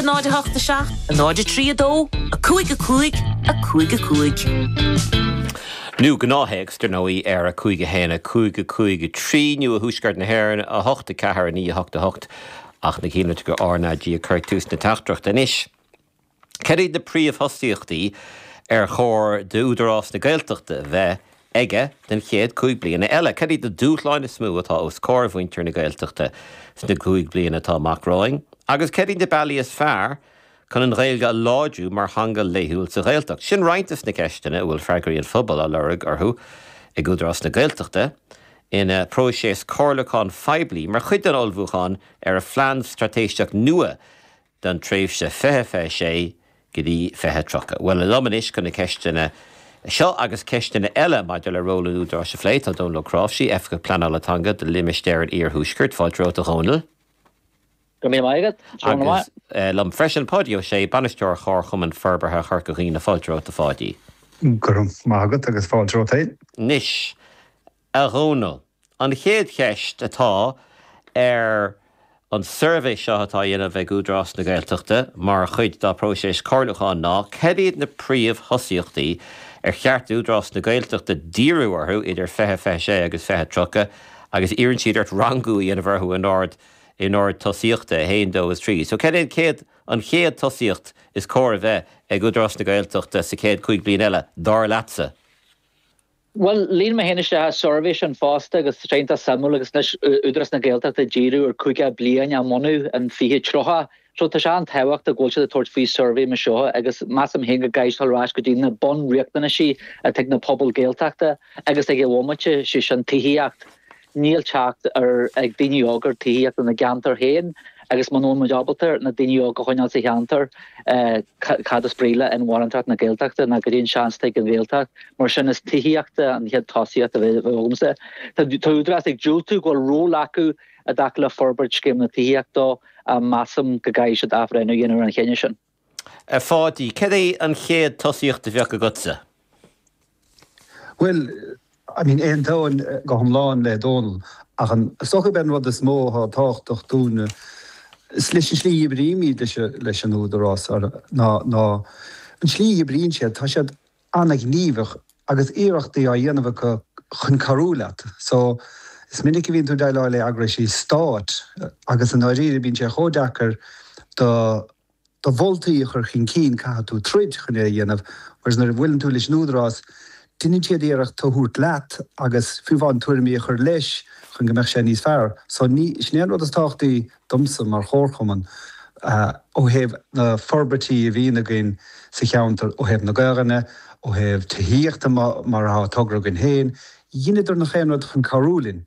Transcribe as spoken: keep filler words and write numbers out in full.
náid a hocht a seacht, a náid a trí a dó, a cúig a cúig, a cúig a cúig. Nó gnáththéacs dar ndóigh ar a cúig a haon a cúig a cúig a trí nó i dtuaisceart na hÉireann a hocht a ceathair a naoi a hocht a hocht ach na cíine go R NAG ag cur tús na teachtaireachta anois. Cad iad na príomhthosaíochtaí ar chóir d'Údarás na Gaeltachta bheith aige den chéad cúig bliana eile. Cad iad na dúshláin is mó atá os comhair mhuintir na Gaeltachta sna cúig bliana atá amach romhainn, agus cad iad na bealaí is fearr chun an Ghaeilge a láidriú mar theanga laethúil sa Ghaeltacht. Sin roinnt de na ceisteanna a bhfuil freagraí an phobail á lorg orthu ag Údarás na Gaeltachta ina próiseas comhairliúcháin phoiblí mar chuid den ullmhúchán ar a phlean straitéiseach nua don tréimhse fiche fiche sé go dtí fiche tríocha. Well liom anois chun na ceisteanna seo agus ceisteanna eile maidir le ról an Údaráis a phlé tá Dónal Ó Cnáimhsí, Oifigeach Pleanála Teanga do Limistéar an Iarthuaiscirt, fáilte romhat a Dhónaill. Go mí agat Agus liom freisin Páidí Ó Sé bainisteoir Chomharchumann Forbartha Chorca Dhuibhne fáilte romhat a Pháidí. Go raibh maith agat agus fáilte romhat féin. Anois a Dhónaill. An chéad cheist atá ar an suirbhé seo atá á dhéanamh ag Údarás na Gaeltachta mar chuid dá próiseas comhairliúcháin ná cad iad na príomhthosaíochtaí ar cheart Údarás na Gaeltachta díriú orthu idir fiche fiche sé agus fiche tríocha agus iarrann siad ort rangú a dhéanamh orthu in ord in ord tosaíochta a haon dó is trí. So cad é céad an chéad tosaíocht is cóir a bheith ag Údarás na Gaeltachta sa chéad cúig bliana eile dar leatsa. Well líon mé féin isteach suirbhé sin fosta agus tréanta suimiúil agus leis Údarás na Gaeltachta díriú ar caoga bliain a mbunú an fiche tríocha. So tá sé an-tábhachtach go bhfuil siad ag tabhairt faoi suirbhé mar seo agus measaim féin go gcaithfidh ar ais go dtí na bunriachtanaisí atá ag na pobail Gaeltachta agus ag an bhomaite sé sin tithíocht. Níl teacht ar ag daoine óga ar tithíocht ina gceantar féin agus muna bhfuil muid ábalta na daoine óga a choinneáil sa cheantar cad is brí le inmharthanacht na Gaeltachta ná go dtíon seans ag an Ghaeltacht mar sin is tithíochta an chéad tosaíocht a bheith agamsa. Tá údarás ag diúltú go bhfuil ról acu i dtaca le forbairt scéim na tithíochta a measaim go gcaithfidh siad athbhreithniú a dhéanamh ar an chinneadh sin. A Pháidí, cad é an chéad tosaíocht a bheadh agatsa? Well, I mean aontaím go hiomlán le Dónal ach an socha ben rud is mó atá tábhachtach dúinne leis an slí a oibrímid leis an údarás ná ná an slí a oibríonn siad tá siad an-ghníomhach agus iarrachtaí á dhéanamh acu chun cabhrú leat. So is minic a bhíonn tú ag déileáil le heagraíochtaí stáit agus an áiríre bíonn sé chomh deacair do do mholtaí a chur chun cinn caithfidh tú troid chun é a dhéanamh, whereas nuair a bhuaileann tú leis an údarás, déanann siad iarracht a thabhairt leat agus fiú amháin tuairimí a chur leis chun go mbeadh sé níos fearr. So ní sin é an rud is tábhachtaí domsa mar chomharchumann ó thaobh na forbairtí a bhíonn againn sa cheantar ó thaobh na Gaeilge, ó thaobh tithíochta mar atá togra againn féin, dheineadar nach aon rud chun cabhrú linn.